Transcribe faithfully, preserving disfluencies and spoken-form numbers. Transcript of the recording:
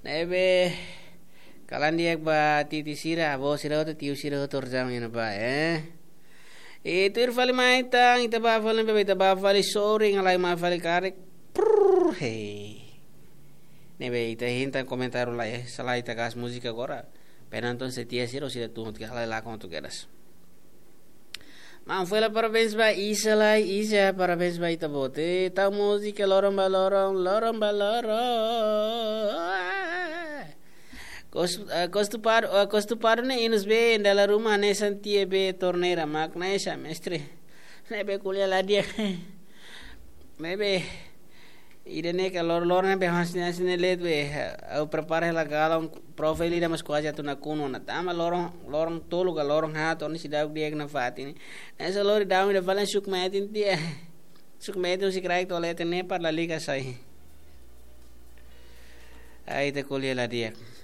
Ne'ebé, kalan di'ak ba titi sira, avó sira hotu, tiu sira hotu, orsida iha ne'ebá, eh. I tuir fali mai tan, ita bá fali, ne'ebé ita bá fali sorin, halai mai fali karik. Prrr, hei. Ne'ebé ita hein tan komentáriu lai, eh. Sala ita kas múzika agora. Penanton setia sira, sira tun, tika halai lakon tu kedas. Maun Fela, parabéns ba Isa lai, Isa, parabéns ba ita-boot. Tau múzika loron ba loron, loron ba loron. Kos, eh, kos tupadu, eh, kos tupadu ne'e inus be, dala ruma ne'e santie be torneira, mak ne'e sa mestre. Ne'ebé ko'alia la di'ak. Ne'ebé, ida-ne'e ka lor-, loron ne'ebé hanesan ne'e, hanesan ne'e de'it be, ha'u prepara hela galon, profe ida mas kuaze atu nakonu ona. Tanba loron, loron tolu ka loron haat, ne'e seidauk di'ak nafatin. Ne'e só lori daudaun ida fali suk metin tiha. Suk metin husi kraik to'o leten ne'e para lalika sai. Ai, ita ko'alia la di'ak.